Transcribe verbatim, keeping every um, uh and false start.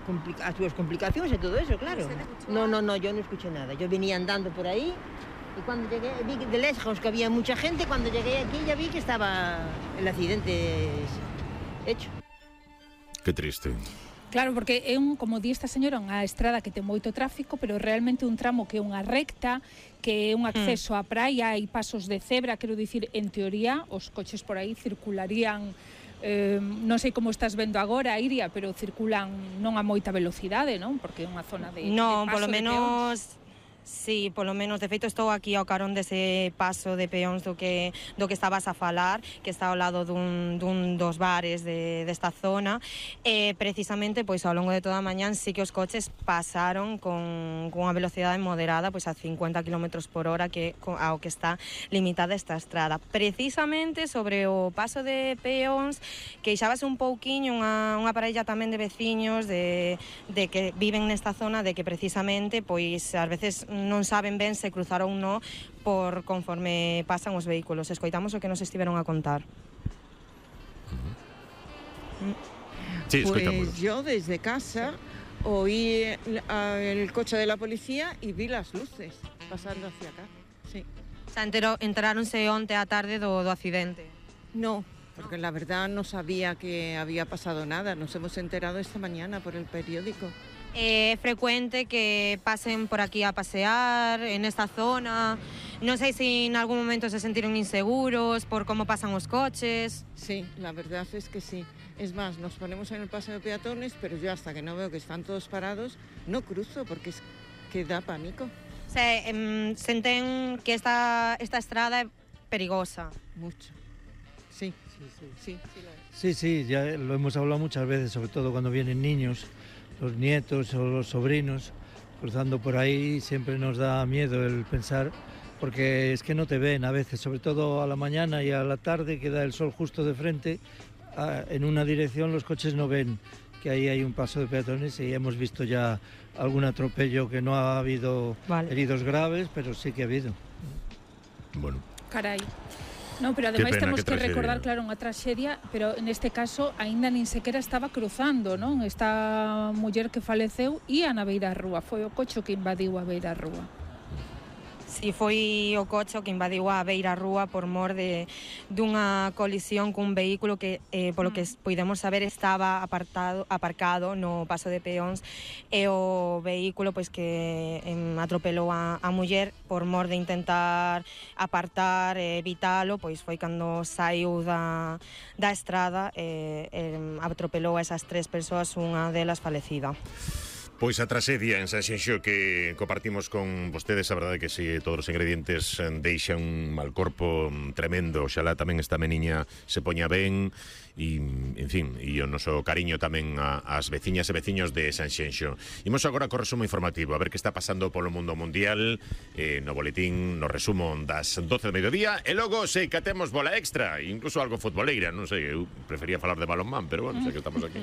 complica as súas complicacións e todo eso, claro. No, no, no, yo no escuché nada. Yo venía andando por ahí y cuando llegué, vi de lejos que había mucha gente, cuando llegué aquí ya vi que estaba el accidente hecho. Que triste. Claro, porque é un, como di esta señora, unha estrada que ten moito tráfico, pero realmente un tramo que é unha recta, que é un acceso á praia, hai pasos de cebra, quero dicir, en teoría, os coches por aí circularían, eh, non sei como estás vendo agora, Iria, pero circulan non a moita velocidade, non? Porque é unha zona de, non, de paso polo de menos... peóns. Sí, polo menos, de feito estou aquí ao carón dese paso de peóns do que do que estabas a falar, que está ao lado dun, dun dos bares de, desta zona, e precisamente pois ao longo de toda a mañán sí que os coches pasaron con, con unha velocidade moderada, pois a cincuenta kilómetros por hora, que ao que está limitada esta estrada. Precisamente sobre o paso de peóns, queixábase un pouquiño unha, unha parella tamén de veciños de, de que viven nesta zona, de que precisamente pois ás veces non saben ben se cruzaron ou non por conforme pasan os vehículos. Escoitamos o que nos estiveron a contar. Sí, pues yo desde casa oí el coche de la policía y vi las luces pasando hacia acá. Sí. O sea, entero, enteráronse onte á tarde do, do accidente? No, porque la verdad no sabía que había pasado nada. Nos hemos enterado esta mañana por el periódico. É frecuente que pasen por aquí a pasear en esta zona. Non sei se en algún momento se sentiron inseguros por como pasan os coches. Sí, la verdad es que sí. Es más, nos ponemos en el paseo de peatones, pero yo hasta que no veo que están todos parados, no cruzo porque es que da pánico. Se, eh, senten que esta, esta estrada é perigosa. Mucho. Sí, sí, sí. Sí, sí, sí, ya lo hemos hablado muchas veces, sobre todo cuando vienen niños, los nietos o los sobrinos cruzando por ahí, siempre nos da miedo el pensar, porque es que no te ven a veces, sobre todo a la mañana y a la tarde, que da el sol justo de frente, en una dirección los coches no ven que ahí hay un paso de peatones, y hemos visto ya algún atropello, que no ha habido vale. heridos graves, pero sí que ha habido. Bueno. Carai. No, pero ademais temos que, que recordar, claro, unha traxedia, pero neste caso aínda nin sequera estaba cruzando, non? Esta muller que faleceu ía na beira rúa, foi o coche que invadiu a beira rúa. Si foi o coche que invadiu a beira rúa por mor de dunha colisión cun vehículo que, eh, polo que podemos saber, estaba apartado, aparcado no paso de peóns, e o vehículo pois que eh, atropelou a, a muller por mor de intentar apartar, eh, evitalo, pois foi cando saiu da, da estrada e eh, eh, atropelou a esas tres persoas, unha delas falecida. Pois a traxedia en Sanxenxo que compartimos con vostedes, a verdade que si todos os ingredientes deixan un mal corpo tremendo. Oxalá tamén esta meniña se poña ben e, en fin, e o noso cariño tamén ás veciñas e veciños de Sanxenxo. Imos agora co resumo informativo, a ver que está pasando polo mundo mundial, eh, no boletín, no resumo das doce do mediodía, e logo sei que temos bola extra, incluso algo futboleira, non sei, eu prefería falar de balonmán, pero bueno, sei que estamos aquí.